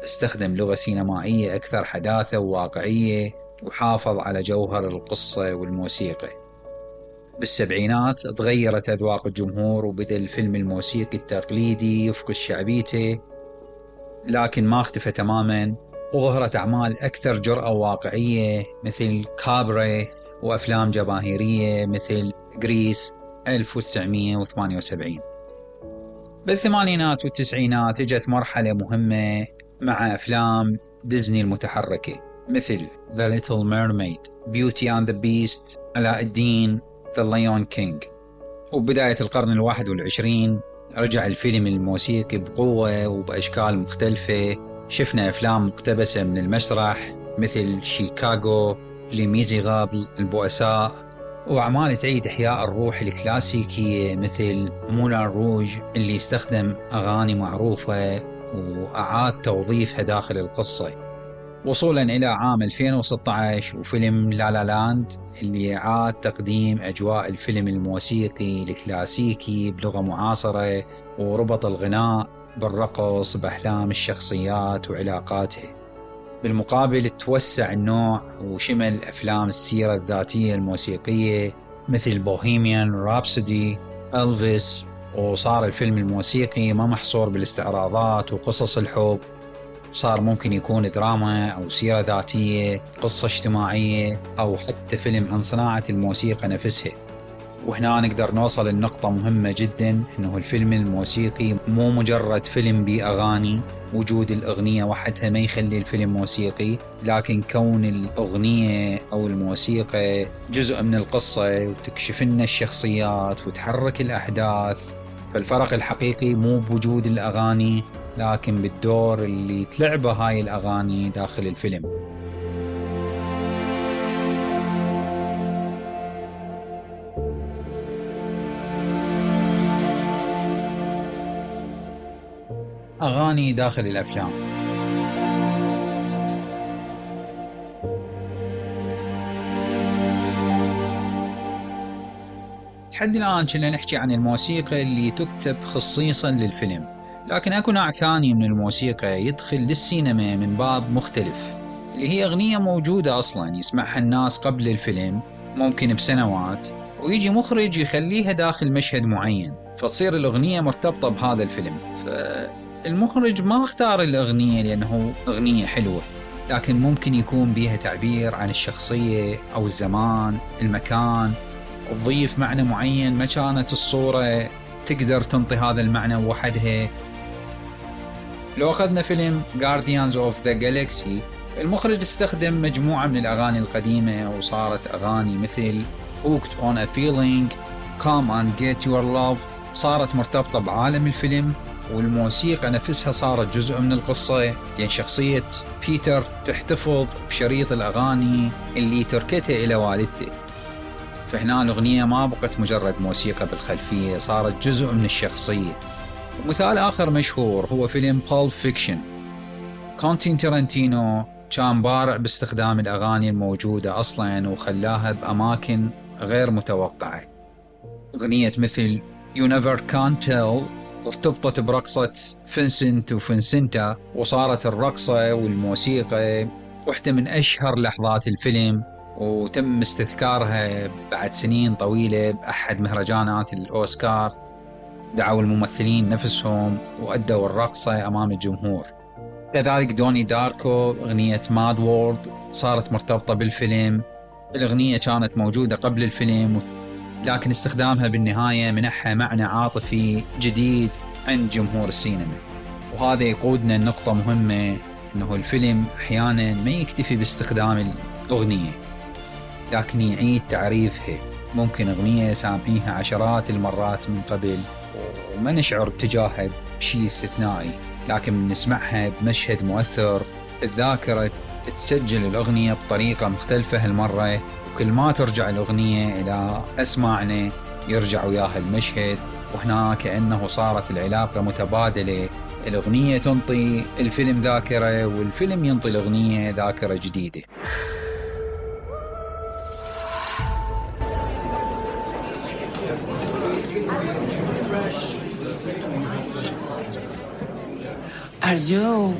استخدم لغة سينمائية أكثر حداثة وواقعية، وحافظ على جوهر القصة والموسيقى. بالسبعينات تغيرت أذواق الجمهور، وبدأ الفيلم الموسيقي التقليدي يفقد شعبيته، لكن ما اختفى تماما، وظهرت أعمال أكثر جرأة وواقعية مثل كابري، وأفلام جماهيرية مثل غريس 1978. بالثمانينات والتسعينات اجت مرحلة مهمة مع أفلام ديزني المتحركة مثل The Little Mermaid، Beauty and the Beast، علاء الدين، The Lion King. وبداية القرن 21 رجع الفيلم الموسيقي بقوة وبأشكال مختلفة. شفنا أفلام مقتبسة من المسرح مثل شيكاغو، لي ميزيرابل، البؤساء، وأعمال تعيد إحياء الروح الكلاسيكية مثل مولان روج اللي استخدم أغاني معروفة وأعاد توظيفها داخل القصة، وصولا إلى عام 2016 وفيلم لا لا لاند اللي أعاد تقديم أجواء الفيلم الموسيقي الكلاسيكي بلغة معاصرة، وربط الغناء بالرقص بأحلام الشخصيات وعلاقاتها. بالمقابل توسع النوع وشمل أفلام السيرة الذاتية الموسيقية مثل بوهيميان رابسودي، ألفيس، وصار الفيلم الموسيقي ما محصور بالاستعراضات وقصص الحب، صار ممكن يكون دراما أو سيرة ذاتية، قصة اجتماعية، أو حتى فيلم عن صناعة الموسيقى نفسها. وهنا نقدر نوصل لنقطة مهمة جدا، إنه الفيلم الموسيقي مو مجرد فيلم بأغاني، وجود الأغنية وحدها ما يخلي الفيلم موسيقي، لكن كون الأغنية أو الموسيقى جزء من القصة وتكشف لنا الشخصيات وتحرك الأحداث. فالفرق الحقيقي مو بوجود الأغاني، لكن بالدور اللي تلعبه هاي الأغاني داخل الفيلم. أغاني داخل الأفلام. لحد الآن كنا نحكي عن الموسيقى اللي تكتب خصيصا للفيلم، لكن أكو نوع ثاني من الموسيقى يدخل للسينما من باب مختلف، اللي هي أغنية موجودة أصلا يسمعها الناس قبل الفيلم ممكن بسنوات، ويجي مخرج يخليها داخل مشهد معين، فتصير الأغنية مرتبطة بهذا الفيلم. المخرج ما اختار الأغنية لأنه أغنية حلوة، لكن ممكن يكون بيها تعبير عن الشخصية أو الزمان، المكان، وتضيف معنى معين ما كانت الصورة تقدر تنطي هذا المعنى وحدها. لو أخذنا فيلم Guardians of the Galaxy، المخرج استخدم مجموعة من الأغاني القديمة وصارت أغاني مثل Hooked on a Feeling، Come and Get Your Love، صارت مرتبطة بعالم الفيلم، والموسيقى نفسها صارت جزء من القصة، لأن شخصية بيتر تحتفظ بشريط الأغاني اللي تركته إلى والدته. فهنا الأغنية ما بقت مجرد موسيقى بالخلفية، صارت جزء من الشخصية. ومثال آخر مشهور هو فيلم Pulp Fiction. كوينتين تارانتينو كان بارع باستخدام الأغاني الموجودة أصلاً وخلاها بأماكن غير متوقعة. أغنية مثل You Never Can Tell ارتبطت برقصة فينسنت وفينسنتا، وصارت الرقصة والموسيقى واحدة من أشهر لحظات الفيلم، وتم استذكارها بعد سنين طويلة بأحد مهرجانات الأوسكار. دعوا الممثلين نفسهم وأدوا الرقصة أمام الجمهور. كذلك دوني داركو أغنية ماد وورد صارت مرتبطة بالفيلم. الأغنية كانت موجودة قبل الفيلم، لكن استخدامها بالنهاية منحها معنى عاطفي جديد عند جمهور السينما. وهذا يقودنا لنقطة مهمة، إنه الفيلم أحيانا ما يكتفي باستخدام الأغنية، لكن يعيد تعريفها. ممكن أغنية سامعيها عشرات المرات من قبل وما نشعر بتجاهها بشيء استثنائي، لكن نسمعها بمشهد مؤثر الذاكرة تسجل الأغنية بطريقة مختلفة هالمرة، وكل ما ترجع الأغنية إلى أسماعنا يرجع وياها المشهد، وهنا كأنه صارت العلاقة متبادلة. الأغنية تنطي الفيلم ذاكرة، والفيلم ينطي الأغنية ذاكرة جديدة. Are you